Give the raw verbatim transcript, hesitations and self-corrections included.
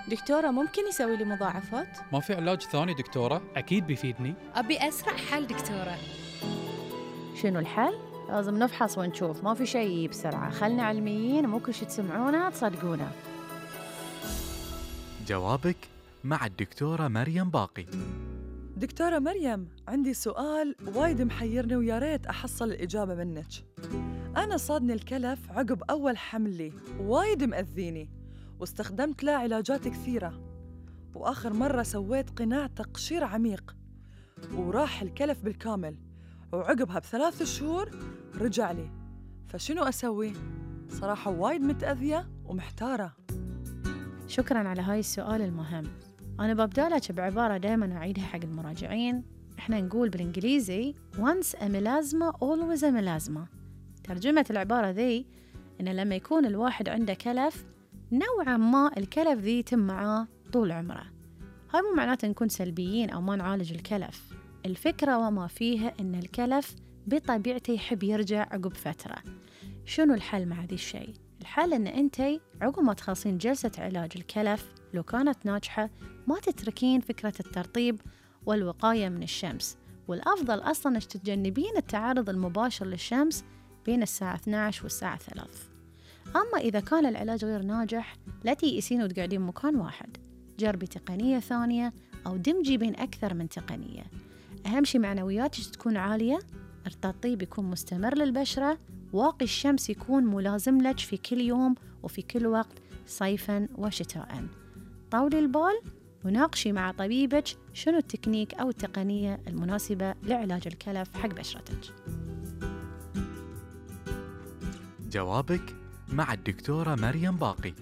دكتورة ممكن يسوي لي مضاعفات؟ ما في علاج ثاني دكتورة؟ أكيد بيفيدني. أبي أسرع حل دكتورة. شنو الحل؟ لازم نفحص ونشوف، ما في شيء بسرعة، خلنا علميين، مو كل شي تسمعونه تصدقونه. جوابك مع الدكتورة مريم باقي. دكتورة مريم، عندي سؤال وايد محيرني ويا ريت أحصل الإجابة منك. أنا صادني الكلف عقب أول حمل لي، وايد مأذيني واستخدمت له علاجات كثيرة، وآخر مرة سويت قناع تقشير عميق وراح الكلف بالكامل، وعقبها بثلاث شهور رجع لي، فشنو أسوي؟ صراحة وايد متأذية ومحتارة. شكراً على هاي السؤال المهم. أنا ببدأ لك بعبارة دائماً أعيدها حق المراجعين. إحنا نقول بالإنجليزي once a melasma always a melasma. ترجمة العبارة ذي إن لما يكون الواحد عنده كلف نوعاً ما الكلف ذي يتم معاه طول عمره. هاي مو معناته نكون سلبيين أو ما نعالج الكلف. الفكرة وما فيها إن الكلف بطبيعته يحب يرجع عقب فترة. شنو الحل مع ذي الشيء؟ الحل إن أنتي عقب ما تخلصين جلسة علاج الكلف لو كانت ناجحة ما تتركين فكرة الترطيب والوقاية من الشمس، والأفضل أصلاً إنك تتجنبين التعرض المباشر للشمس بين الساعة اثنتي عشرة والساعة ثلاثة. أما إذا كان العلاج غير ناجح لا تيئسين وتقعدين مكان واحد، جربي تقنية ثانية أو دمجي بين أكثر من تقنية. أهم شي معنوياتك تكون عالية، الترطيب يكون مستمر للبشرة، واقي الشمس يكون ملازم لك في كل يوم وفي كل وقت صيفاً وشتاءً. طولي البال وناقشي مع طبيبك شنو التكنيك أو التقنية المناسبة لعلاج الكلف حق بشرتك. جوابك مع الدكتورة مريم باقي.